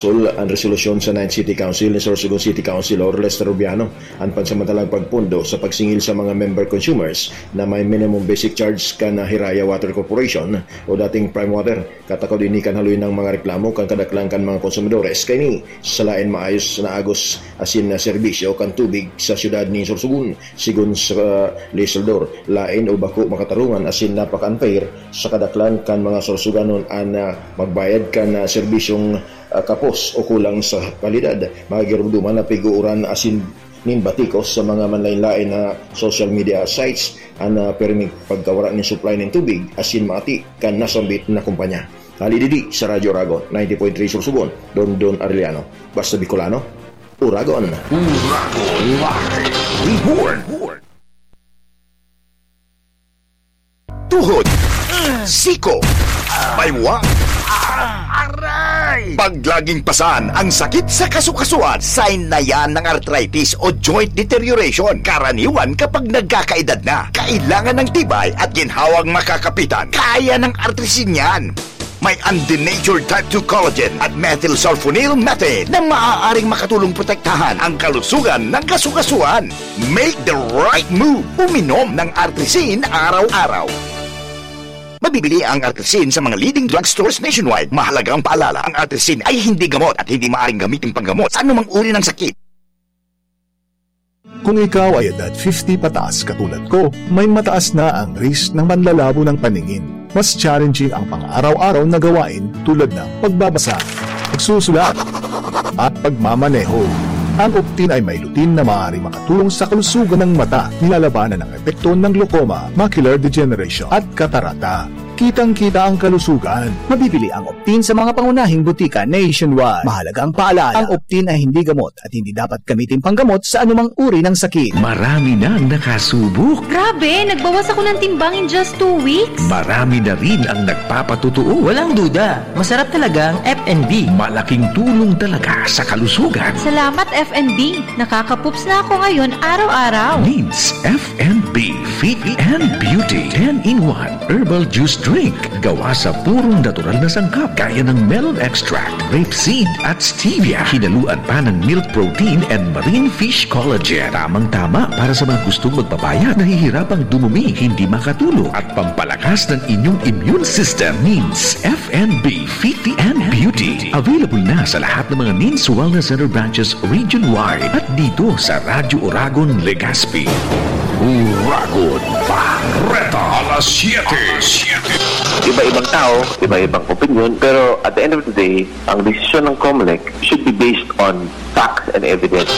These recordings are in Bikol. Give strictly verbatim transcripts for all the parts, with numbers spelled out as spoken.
Sul an resolusyon sa Ninth City Council ni Sorsogon City Councilor Lester Rubiano, an pansamantalang pagpundo sa pagsingil sa mga member consumers na may minimum basic charge kan Hiraya Water Corporation o dating Prime Water. Katakod ini kan haloy ng mga reklamo kan kadaklan kan mga konsumidores kaini sa lain maayos na agos asin na serbisyo kan tubig sa siyudad ni Sorsogon. Sigon sa legislador, lain o bako makatarungan asin napaka-unfair sa kadaklan kan mga Sorsoganon an, ah, magbayad kan, ah, serbisyong, ah, kapos o kulang sa kalidad. Magirumduman na pig-uuran asin nin batikos sa mga manlain-lain na social media sites an, ah, pirming pagkawara nin supply nin tubig asin maati kan nasambit na kumpanya. Hali digdi sa Radyo Oragon, ninety point three Sorsogon, Dondon Arellano. Basta Bicolano, Oragon. Oragon Live Report. Tuhod, siko, baywa, aray! Pag laging pasan ang sakit sa kasukasuan, sign na yan ng arthritis o joint deterioration. Karaniwan kapag nagkakaedad na, kailangan ng tibay at ginhawang makakapitan. Kaya ng Artrisin yan. May undenatured type two collagen at methylsulfonyl methane na maaaring makatulong protektahan ang kalusugan ng kasukasuan. Make the right move. Uminom ng Artrisin araw-araw. Mabibili ang Artrisin sa mga leading drugstores nationwide. Mahalagang paalala, ang Artrisin ay hindi gamot at hindi maaaring gamitin panggamot sa anumang uri ng sakit. Kung ikaw ay edad fifty pataas katulad ko, may mataas na ang risk ng manlalabo ng paningin. Mas challenging ang pang-araw-araw na gawain tulad ng pagbabasa, pagsusulat, at pagmamaneho. Ang Optin ay may lutein na maaaring makatulong sa kalusugan ng mata, nilalabanan ang epekto ng glaucoma, macular degeneration, at katarata. Kitang-kita ang kalusugan. Mabibili ang Optin sa mga pangunahing butika nationwide. Mahalagang paalala, ang Optin ay hindi gamot at hindi dapat gamitin panggamot sa anumang uri ng sakit. Marami nang nakasubok. Grabe, nagbawas ako ng timbang in just two weeks. Marami na rin ang nagpapatotoo. Walang duda, masarap talaga ang F and B. Malaking tulong talaga sa kalusugan. Salamat, F and B. Nakakapups na ako ngayon araw-araw. Needs F and B Fit and Beauty ten-in-one Herbal Juice Drink. Gawa sa purong natural na sangkap gaya ng melon extract, rape seed, at stevia. Hinaluan pa ng milk protein and marine fish collagen. Tamang-tama para sa mga gustong magpapayat, nahihirapang dumumi, hindi makatulog, at pampalakas ng inyong immune system. Needs F and B Fit and Beauty. Available na sa lahat ng mga Needs Wellness Center branches region-wide at dito sa Radyo Oragon, Legazpi. Oragon Bareta, alas siyete. Iba-ibang tao, iba-ibang opinyon, pero at the end of the day, ang desisyon ng Comelec should be based on facts and evidence.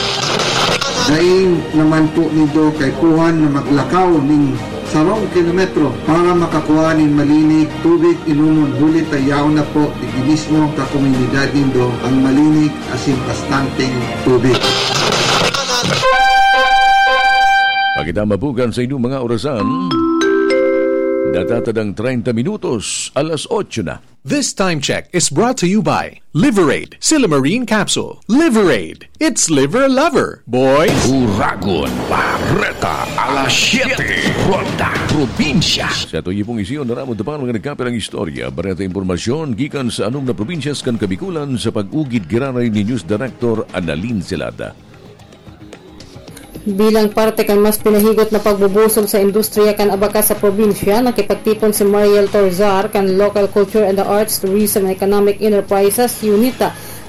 Dai naman po nindo kaipuhan na maglakaw nin sarong kilometro para makakua nin malinig tubig inomon, huli ta yaon na po digdi mismo sa komunidad nindo ang malinig asin bastanteng tubig. Pakitama bukan sa inyong mga orasan. Natatadang treinta minutos, alas otso na. This time check is brought to you by Liverade, Silymarin Capsule. Liverade, it's liver lover, boys! Oragon Bareta, alas siyete, Ronda Probinsya. Sa tuyo pong isyu, naramod pa ang mga nagkapirang istorya, bareta impormasyon, gikan sa anom na probinsyas kan Kabikulan sa pag-ugid giraray ni News Director Annalyn Celada. Bilang parte kan mas pinahigot na pagbubusog sa industriya kan abakas sa probinsya, nakipagtipon si Mariel Torzar kan Local Culture and the Arts, Tourism and Economic Enterprises Unit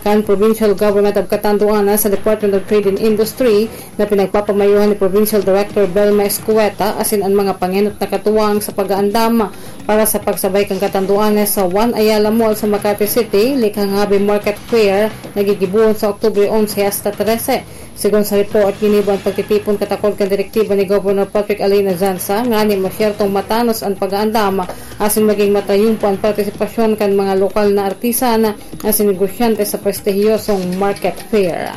kan Provincial Government of Catanduanes sa Department of Trade and Industry na pinagpapamayohan ni Provincial Director Belma Escueta asin an mga pangenot na katuwang sa pag-aandam para sa pagsabay kan Catanduanes sa One Ayala Mall sa Makati City, likhang Hobby Market Fair na gigibohon sa Oktubre onse hasta trese. Sigon sa report, ginibo an pagtitipon katakod kan direktiba ni Governor Patrick Alain Azanza ngani masyertong matanos an pag-aandam asin maging matayumpo an partisipasyon kan mga lokal na artisan asin negosyante sa prestihiyosong market fair.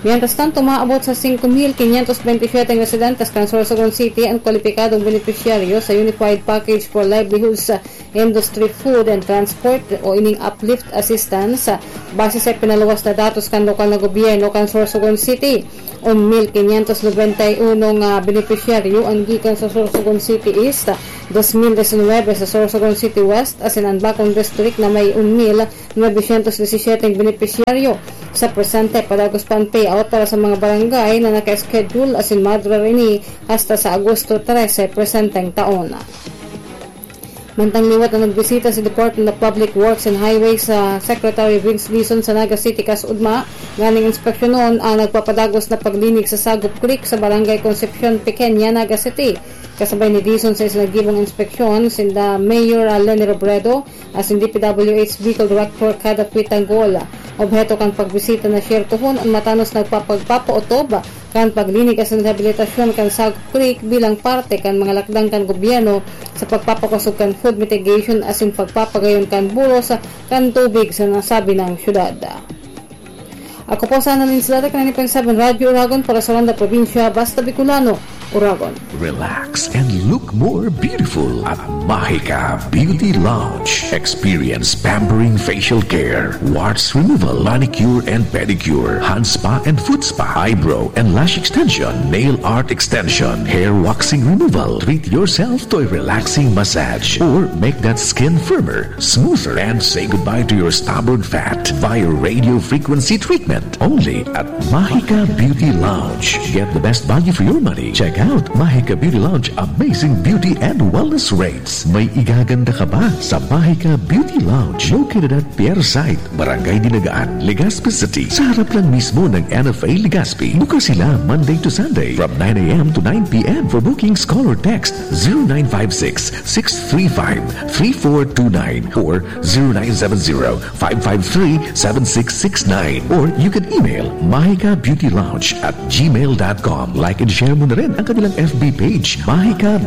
Mientras tanto, maabot sa singko mil quinientos veintisiete residentes kan Sorsogon City ang kwalipikadong benepisyaryo sa Unified Package for Livelihoods Industry, Food and Transport o ining Uplift Assistance, base sa pinaluwas na datos kan lokal na gobyerno kan Sorsogon City. Un mil quinientos noventa y uno nga benepisyaryo ang gikan sa Sorsogon City East, dos mil diecinuebe sa Sorsogon City West, asin ang bakong district na may un mil novecientos disisiete benepisyaryo. Sa presente, padagos pa ang payout para sa mga barangay na naka-schedule asin madura rini hasta sa Agosto trese presenteng taon. Mantang liwat na nagbisita si Department of Public Works and Highways sa Secretary Vince Dizon sa Naga City kasugma nganing inspeksyonon ang nagpapadagos na paglinig sa Sagup Creek sa Barangay Concepcion Pequeña, Naga City. Kasabay ni Dizon sa isinagibong inspeksyon sinda Mayor Leni Robredo asin D P W H Bicol Director Kada Quitangol. Obheto kan pagbisita na siyertohon an matanos na pagpapagpapaotob kan paglinig asin rehabilitasyon kan Sagup Creek bilang parte kan mga lakdang kan gobyerno sa pagpapakosog kan flood mitigation asin pagpapagayon kan buros kan tubig sa nasabing syudad. Ako po sana nin sila kan N F M seven Radyo Oragon para sa Ronda Probinsya, Basta Bicolano, Oragon. Relax and look more beautiful at Mahika Beauty Lounge. Experience pampering facial care, warts removal, manicure and pedicure, hand spa and foot spa, eyebrow and lash extension, nail art extension, hair waxing removal. Treat yourself to a relaxing massage or make that skin firmer, smoother, and say goodbye to your stubborn fat via radio frequency treatment. Only at Mahika Beauty Lounge. Get the best value for your money. Check out Mahika Beauty Lounge amazing beauty and wellness rates. May igaganda ka ba sa Mahika Beauty Lounge? Located at Pier Site, Barangay Dinagaan, Legazpi City. Sa harap lang mismo ng N F A Legazpi. Bukas sila Monday to Sunday from nine a.m. to nine p.m. For bookings, call or text zero nine five six, six three five, three four two nine or zero nine seven zero, five five three, seven six six nine. Or you can email mahikabeautylounge at gmail dot com. Like and share mo na rin ang kanilang F B page, Mahika